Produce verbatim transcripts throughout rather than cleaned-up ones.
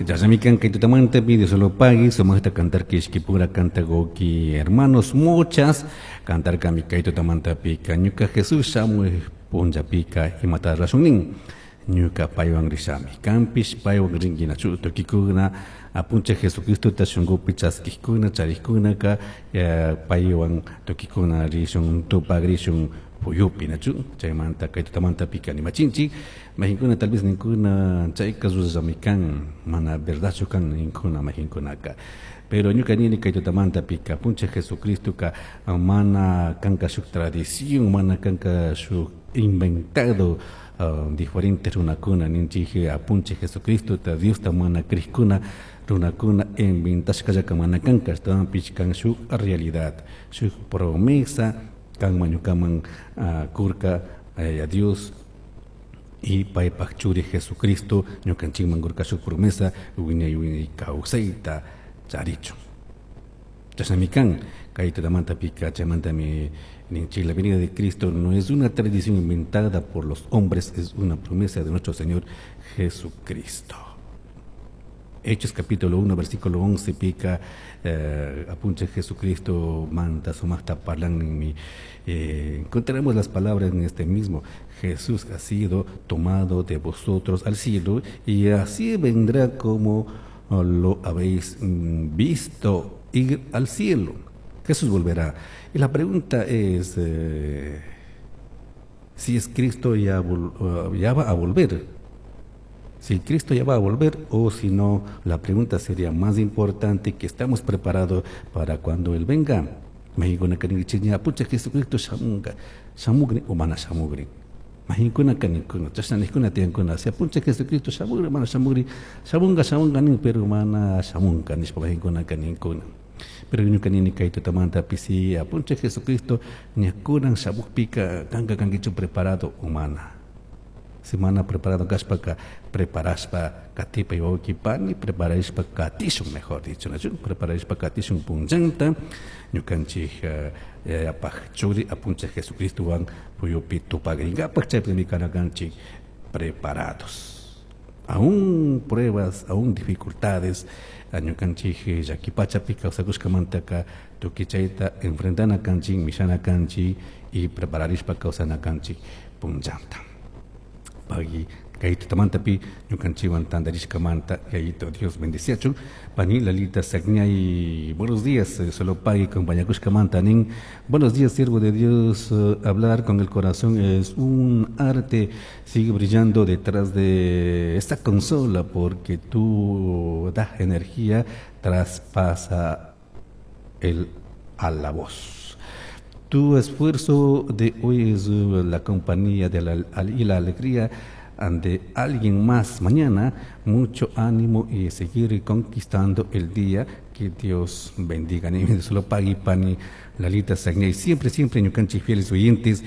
Chashnami kan kay tutamantapi Dios lo pague sumaqta cantarka ishkipura cantagoki hermanos muchas cantarkami kay tutamantapika ñuka Jesús shamuy punllapika imata rashun nin ñuka paywan rishami kanpish paywan rinkinachu tukikuna apunchik Jesucristota shunkupi chaskikuna charikkunaka paywan tukikuna rishun tupagrishun puyupi nachu chaymanta kay tutamantapika nimachinchik majinkuna tal vez ninkuna chayka rurashami kan mana verdadchu kan ninkuna majinkunaka pero ñuka nini kay tutamantapika apunchik Jesucristoka mana kanka shuk tradición mana kanka shuk inventado uh, diferentes runakuna ninchik apunchik Jesucristota Diosta mana krikuna runakuna inventashkallaka mana kanka ashtawanpish kan shuk realidad shuk promesa kanman ñukaman uh, kurka Yaya Dios y paypak churi Jesucristo ñukanchikman kurka shuk promesa wiñay wiñay kawsayta charichun chashnami kan kay tutamantapika chaymantami ninchik la venida de Cristo no es una tradición inventada por los hombres, es una promesa de nuestro Señor Jesucristo. Hechos capítulo uno, versículo once, pica, eh, apunchik Jesucristo, manta sumaqta parlan eh, encontraremos las palabras en este mismo. Jesús ha sido tomado de vosotros al cielo y así vendrá como lo habéis visto ir al cielo. Jesús volverá. Y la pregunta es, eh, si es Cristo ya, ya va a volver. Si Cristo ya va a volver o si no, la pregunta sería más importante que estamos preparados para cuando Él venga. Majinkuna kaninchik apunchik Jesucristo shamunga, shamugri o mana shamugri. Majinkuna kaninkuna, chashna nikkuna tiyankuna, si apunchik Jesucristo shamugri, mana shamugri, shamunga, shamunga nin, pero mana shamunga nishpa majinkuna kaninkuna. Pero ñuka nini kay tutamantapi si apunchik Jesucristo ña kunan shamukpika kanka kankichu preparado o mana. Si mana preparado kashpaka preparashpa katipay wawqi pani preparashpa katishun mejor dicho nachu preparashpa katishun punllanta ñukanchik Yayapaj churi apunchik Jesucristowan puyupi tupagrinkapak chaypimi kana kanchik preparados. Aún pruebas, aún dificultades, ñukanchik llaki pachapi kawsakushkamantaka tukuy chayta enfrentana kanchik, mishana kanchik y prepararishpa kawsana kanchik punllanta. Pagui kay tutamantapi ñukanchikwan tantarishkamanta Yayito Dios bendeciachun pani Lalita Sagñay, buenos días, solo pagui compañakushkamanta nin buenos días, siervo de Dios, hablar con el corazón es un arte, sigue brillando detrás de esta consola porque tú das energía, traspasa el a la voz. Tu esfuerzo de hoy es la compañía de la, y la alegría de alguien más mañana. Mucho ánimo y seguir conquistando el día. Que Dios bendiga. Ni solo pagui pani Lalita Sagñay. Siempre, siempre ñukanchik fieles oyentes.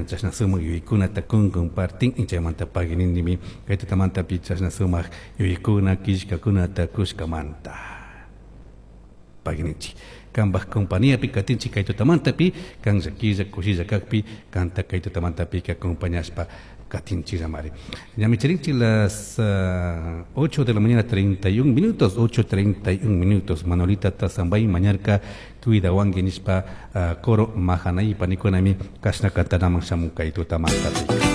Chashna sumak yuyaykuna takun compartin. Chaymanta pagui nindimi. Kay tutamantapi chashna sumak yuyaykuna killkakunata kushkamanta. Pagui ninchik. Kambaj compañía pi katinchik kay tutamantapi kan llakilla kushilla kakpi kanta kay tutamantapi acompañashpa katinchik mari. Ñami charinchik las uh, ocho de la mañana treinta y un minutos, ocho treinta y un minutos. Manolita Tazambay mañarka cuidawanki nishpa uh, coro mahanay panikunami kashna kantanaman shamun kay tutamantapi.